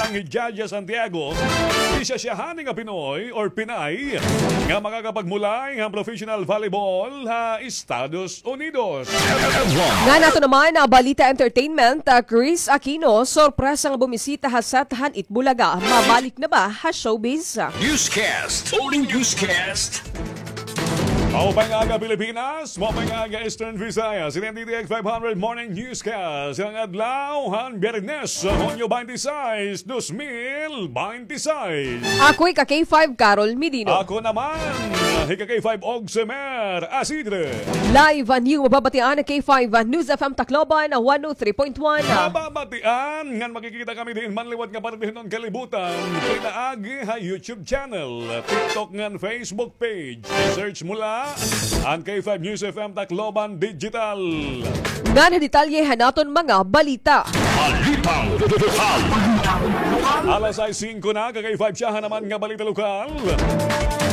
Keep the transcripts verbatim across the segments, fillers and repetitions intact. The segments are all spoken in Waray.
Jaja Santiago, isa siya hani nga Pinoy or Pinay nga makakapagmulay han professional volleyball ha Estados Unidos. Ngan ato naman ha Balita Entertainment, ah, Chris Aquino, sorpresa nga bumisita ha set han Eat Bulaga. Mabalik na ba ha showbiz? Newscast. Only newscast. Maupay nga aga, Pilipinas. Maupay nga aga, Eastern Visayas. Ini an D T X five hundred Morning Newscast. Ini an adlaw han Biyernes, Hunyo twenty-six, dos mil twenty-six. Ako hi ka K five, Carol Medino. Ako naman, hi ka K five, Ogsemer Asidre. Live han iyo mababatian, K five News F M Tacloban, one oh three point one. Mababatian ngan makikita kami diin man liwat nga parte hiton kalibutan, pinaagi ha YouTube channel, TikTok ngan Facebook page. Search mo la an K five News F M Tacloban Digital. Ngan ha detalye han aton mga balita. Balitang lokal. Alas sais singko na, ka K five, siyahan naman nga balita lokal.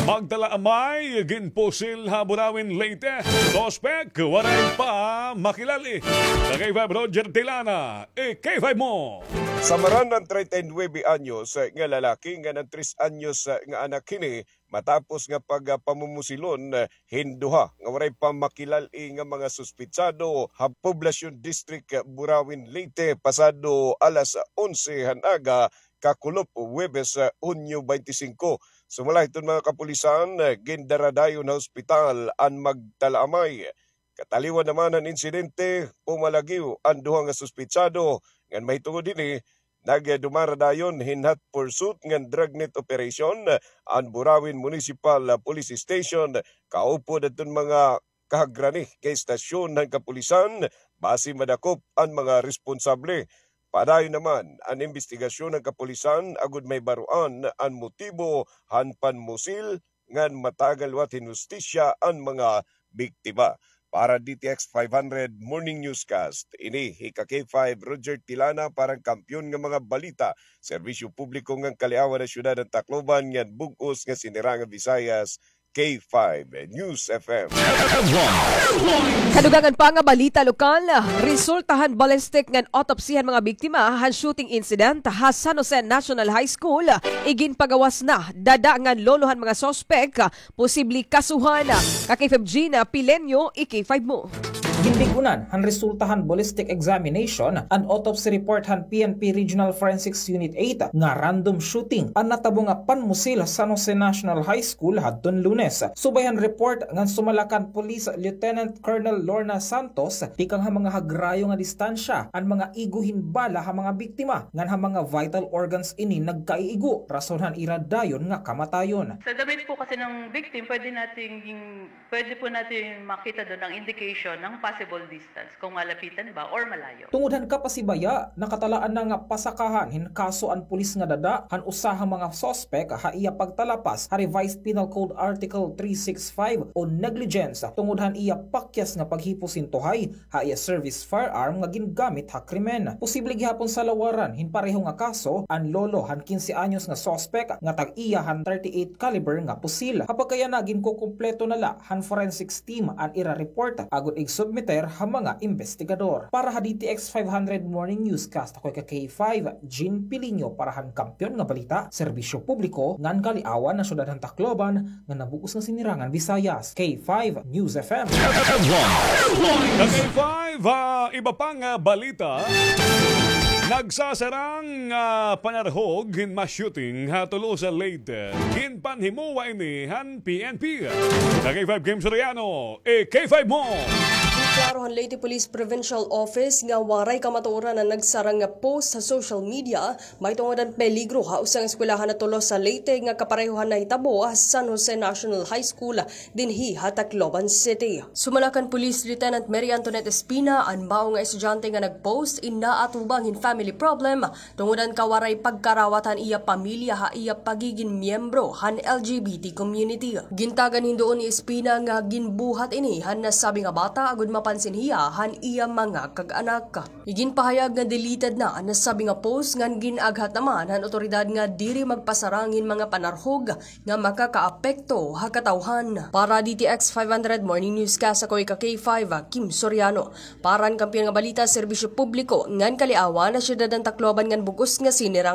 Magtalaamay, ginpusil ha Burauen, Leyte. Suspek, waray pa makilal-i. Ka K five, Roger Tilana, i K five mo. Samaran an treinta y nuebe anyos nga lalaki ngan an tres anyos nga anak hini matapos nga pagpamumusilon hin duha nga waray pa makilal-i nga mga suspetsado ha Poblacion District, Burauen, Leyte, pasado alas onse han aga, kakulop Huwebes, Hunyo twenty-five. Sumala hiton mga kapulisan, gindaradayon ha ospital an magtalaamay. Kataliwan naman han insidente, pumalagiw an duha nga suspetsado, ngan mahitungod hini, nagdumaradayon hin hot pursuit ngan dragnet operation an Burauen Municipal Police Station, kaupod adton mga kahagrani nga estasyon han kapulisan, basi madakop an mga responsable. Padayon naman an imbestigasyon han kapulisan agod mahibaroan an motibo han panmusil ngan matagan liwat hin hustisya an mga biktima. Para D T X five hundred Morning Newscast, ini hi ka K five, Roger Tilana, para han Kampiyon nga mga Balita, Serbisyo Publiko ngan Kaliawan ha Syudad han Tacloban ngan Bug-os nga Sinirangan Visayas, K five News F M. Kadugangan pa nga balita lokal, resulta han ballistic ngan autopsy han mga biktima han shooting incident ha San Jose National High School, iginpagawas na dada ngan lolo han mga suspek, posible kasuhan. Ka K five Gina Pileño, i K five mo. Ginbig-unan han resulta han ballistic examination and autopsy report han P N P Regional Forensics Unit eight nga random shooting an natabo nga panmusil ha San Jose National High School hadton Lunes. Subay han report ngan sumala kan Police Lieutenant Colonel Lorna Santos, tikang ha mga hagrayo nga distansya an mga igo hin bala ha mga biktima ngan ha mga vital organs ini nagkaiigo, rason han ira dayon nga kamatayon. Sa damit po kasi ng victim, pwede nating, pwede po natin makita doon ang indication ng possible distance, kung malapitan ba or malayo. Tungod han kapasibaya, nakatalaan na nga pasakahan hin kaso an pulis nga dada han usa ha mga suspek ha iya pagtalapas ha Revised Penal Code Article three six five o negligence tungod han iya pakyas nga paghipos hin tuhay ha iya service firearm nga gingamit ha krimen. Posible gihapon salawaran hin pareho nga kaso an lolo han kinse anyos nga suspek nga tag-iya han thirty-eight caliber nga pusil. Ha pagkayana, ginkukumpleto na la han forensics team an ira report agod igsubmiter ha mga imbestigador. Para ha D T X five hundred Morning Newscast, ako hi ka K five, Jean Piliño, para han Kampiyon nga Balita, Serbisyo Publiko ngan Kaliawan ha Syudad han Tacloban, nga nabug-os nga Sinirangan Visayas, K five News F M. Ka K five, ah, iba pa nga balita. Nagsasarang, ah, panarhog hin mass shooting ha Tolosa, Leyte. Ginpanhimuwa ini han P N P. Ka K five, Kim Soriano, i K five mo. Ginklaro han Leyte Police Provincial Office nga waray kamatuoran an nagsarang nga post ha social media mahitungod han peligro ha usa nga eskwelahan ha Tolosa, Leyte nga kapareho han nahitabo ha San Jose National High School dinhi ha Tacloban City. Sumala kan Police Lieutenant Mary Antoinette Espina, an mao nga estudyante nga nag-post in naatubang hin family problem tungod han kawaray pagkarawat han iya pamilya ha iya pagigin miyembro han L G B T community. Gintagan hin duon ni Espina nga ginbuhat ini han nasabi nga bata agod mapansin hiya han iya mga kag-anak. Iginpahayag nga deleted na an nasabi nga post ngan gin-aghat naman han awtoridad nga diri magpasarang hin mga panarhog nga makakaapekto ha katawhan. Para D T X five hundred Morning Newscast, ako hi ka K five, Kim Soriano. Para han Kampiyon nga Balita, Serbisyo Publiko ngan Kaliawan ha Syudad han Tacloban ngan bug-os nga Sinirangan